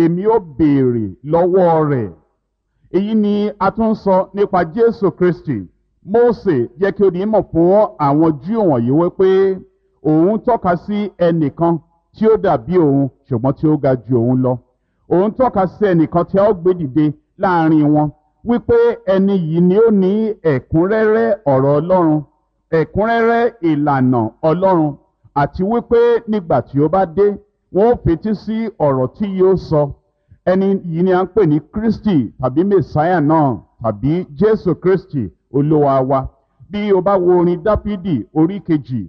Èmi ó béèrè lọ́wọ́ rẹ̀. Èyí ni a tún ń sọ nípa Jésù Kristi. Mósè jẹ́ kí ó di mọ̀ fún àwọn Júù wọ̀nyí wípé òun tọ́ka sí ẹnìkan tí ó dàbí òun, ṣùgbọ́n tí ó ga ju òun lọ. Òun tọ́ka sí ẹnìkan tí a ó gbé dìde láàrin wọn, wípé ẹni yìí ni ó ní ẹ̀kúnrẹ́rẹ́ ọ̀rọ̀ Ọlọ́run, ẹ̀kúnrẹ́rẹ́ ìlànà Ọlọ́run, àti wípé nígbà tí ó bá dé, wọn ó fetí sí ọ̀rọ̀ tí yóò sọ. Ẹni yìí ni a ń pè ní Kristi tàbí Mèsáyà náà tàbí Jésù Kristi Olúwa wa. Bí o bá wo orin Dáfídì orí 2,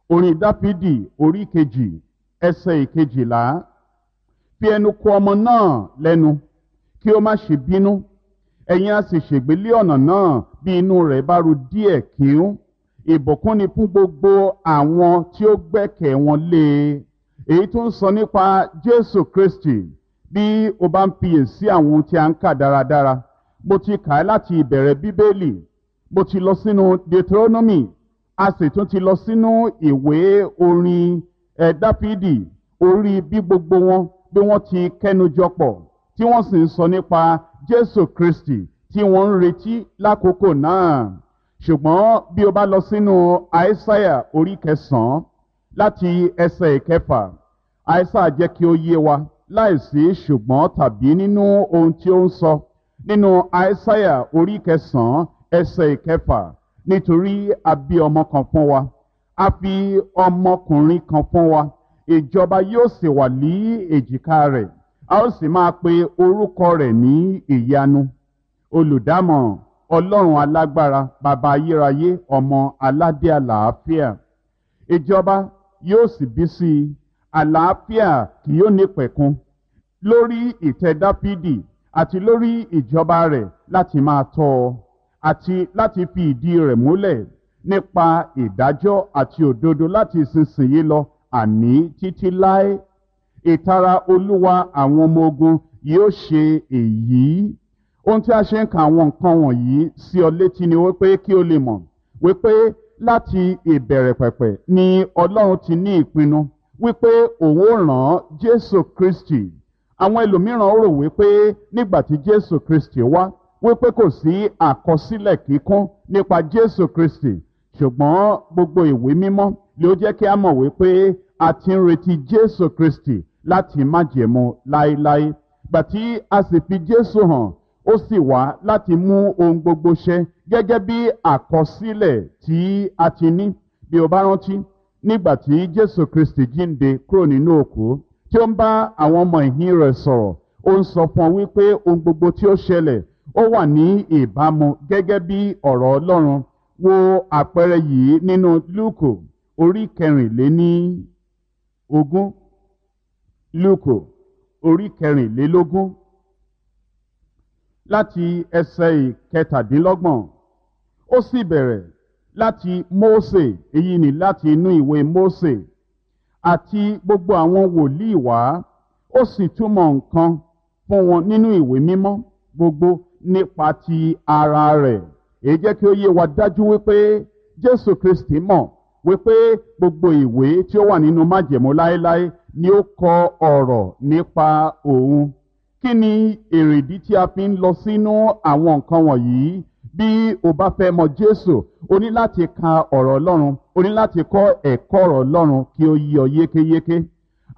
orin Dáfídì orí 2, ẹsẹ̀ 12, fi ẹnu kò ọmọ náà lẹ́nu kí ó má ṣe bínú, ẹ̀yin á sì ṣègbè lé ọ̀nà náà bí inú rẹ̀ bá ru díẹ̀ kíún. Ìbùkún ni fún gbogbo àwọn tí ó gbẹ́kẹ̀ wọn lé e. Èyí tó ń sọ nípa Jésù Kristi. Bí o bá ń fiyèsí àwọn ohun tí a ń kà dáradára, mo ti kà á láti ìbẹ̀rẹ̀ Bíbélì, mo ti lọ sínú Deuteronomy, a sì tún ti lọ sínú ìwé orin Dáfídì orí, bí gbogbo wọn bí wọ́n ti kẹ́nu jọpọ̀ tí wọ́n sì ń sọ nípa Jésù Kristi tí wọ́n ń retí lákòókò náà. Ṣùgbọ́n bí o bá lọ sínú Àìsáyà orí 9 láti ẹsẹ̀ 6, Àìsáyà jẹ́ kí ó yé wa láìsí ṣùgbọ́n tàbí nínú ohun tí ó ń sọ nínú Àìsáyà orí 9 ẹsẹ̀ 6: nítorí a bí ọmọ kan fún wa, a fi ọmọkùnrin kan fún wa, ìjọba yóò sì wà ní èjìká rẹ̀, a ó sì máa pe orúkọ rẹ̀ ní Ìyanu, Olùdámọ̀ràn, Ọlọ́run Alágbára, Bàbá Ayérayé, Ọmọ Aládé Àlàáfíà. Ìjọba yóò sì bí sí i, àlàáfíà kì yóò ní pẹ̀kun, lórí ìtẹ́ Dáfídì àti lórí ìjọba rẹ̀, láti máa tọ́ ọ àti láti fi ìdí rẹ̀ múlẹ̀ nípa ìdájọ́ àti òdodo láti ìsinsìnyí lọ, àní títí láé. Ìtara Olúwa àwọn ọmọ ogun yóò ṣe èyí. Ohun tí a ṣe ń ka àwọn nǹkan wọ̀nyí sí ọ létí ni wípé kí o lè mọ̀ wípé láti ìbẹ̀rẹ̀ pẹ̀pẹ̀ ni Ọlọ́run ti ní ìpinnu wípé òun ó rán Jésù Kristi. Àwọn ẹlòmíràn rò wípé nígbà tí Jésù Kristi wá, wípé kò sí àkọsílẹ̀ kíkún nípa Jésù Kristi, ṣùgbọ́n gbogbo ìwé mímọ́ ló jẹ́ kí a mọ̀ wípé a ti ń retí Jésù Kristi láti májẹ̀mú láéláé. Gbà tí a sì fi Jésù hàn, ó sì wá láti mú ohun gbogbo ṣẹ gẹ́gẹ́ bí àkọsílẹ̀ tí a ti ní. Bí o bá rántí, nígbà tí Jésù Kristi jíǹde kúrò nínú òkú, tí ó ń bá àwọn ọmọ ìhín rẹ̀ sọ̀rọ̀, ó ń sọ fún ọ wípé ohun gbogbo tí ó ṣẹlẹ̀, ó wà ní ìbámu gẹ́gẹ́ bí ọ̀rọ̀ Ọlọ́run. Wo àpẹẹrẹ yìí nínú Lúùkù orí 24. Lúùkù orí 24 láti ẹsẹ̀ 27. Ó sì bẹ̀rẹ̀ láti Mósè, èyí ni láti inú ìwé Mósè àti gbogbo àwọn wòlíì wá, ó sì túmọ̀ nǹkan fún wọn nínú ìwé mímọ́ gbogbo nípa ti ara rẹ̀. Èyí jẹ́ kí ó yé wa dájú wípé Jésù Kristi mọ̀ wípé gbogbo ìwé tí ó wà nínú májẹ̀mú láéláé ni ó kọ ọ̀rọ̀ nípa òun. Kí ni èrèdí tí a fi ń lọ sínú àwọn nǹkan wọ̀nyí? Bí o bá fẹ́ mọ Jésù, o ní láti ka ọ̀rọ̀ Ọlọ́run, o ní láti kọ́ ẹ̀kọ́ ọ̀rọ̀ Ọlọ́run kí ó yé ọ yékéyéké.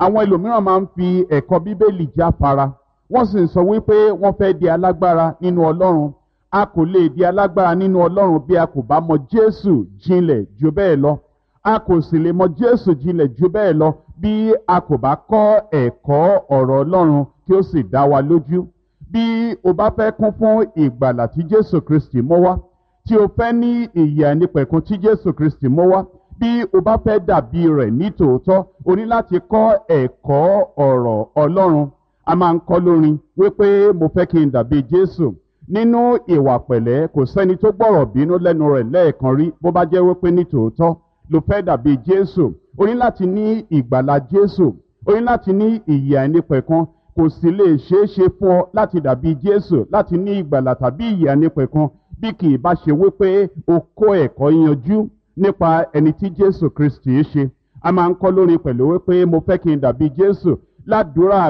Àwọn ẹlòmíràn máa ń fi ẹ̀kọ́ Bíbélì jáfara, wọ́n sì ń sọ wípé wọ́n fẹ́ di alágbára nínú Ọlọ́run. A kò lè di alágbára nínú Ọlọ́run bí a kò bá mọ Jésù jinlẹ̀ ju bẹ́ẹ̀ lọ. A kò sì lè mọ Jésù jinlẹ̀ ju bẹ́ẹ̀ lọ bí a kò bá kọ́ ẹ̀kọ́ ọ̀rọ̀ Ọlọ́run kí ó sì dá wa lójú. Bí o bá fẹ́ kún fún ìgbàlà tí Jésù Kristi mú wá, tí o fẹ́ ní ìyè àìnípẹ̀kun tí Jésù Kristi mú wá, bí o bá fẹ́ dàbí rẹ̀ ní tòótọ́, o ní láti kọ́ ẹ̀kọ́ ọ̀rọ̀ Ọlọ́run. A máa ń kọ́ lórin wípé mo fẹ́ kí n dàbí Jésù nínú ìwà pẹ̀lẹ́. Kò sẹ́ni tó gbọ́rọ̀ bínú lẹ́nu rẹ̀ lẹ́ẹ̀kan rí. Bó bá jẹ́ wípé ní tòótọ́ ló fẹ́ dàbí Jésù, o ní láti ní ìgbàlà Jésù, o ní láti ní ìyè àìnípẹ̀kun. Kò sì lè ṣeé ṣe fún ọ láti dàbí Jésù, láti ní ìgbàlà tàbí ìyè àìnípẹ̀kun, bí kì í bá ṣe wípé o kó ẹ̀kọ́ yanjú nípa ẹni tí Jésù Kristi ṣe. A máa ń kọ́ lórin pẹ̀lú wípé mo fẹ́ kí n dàbí Jésù ládùúrà.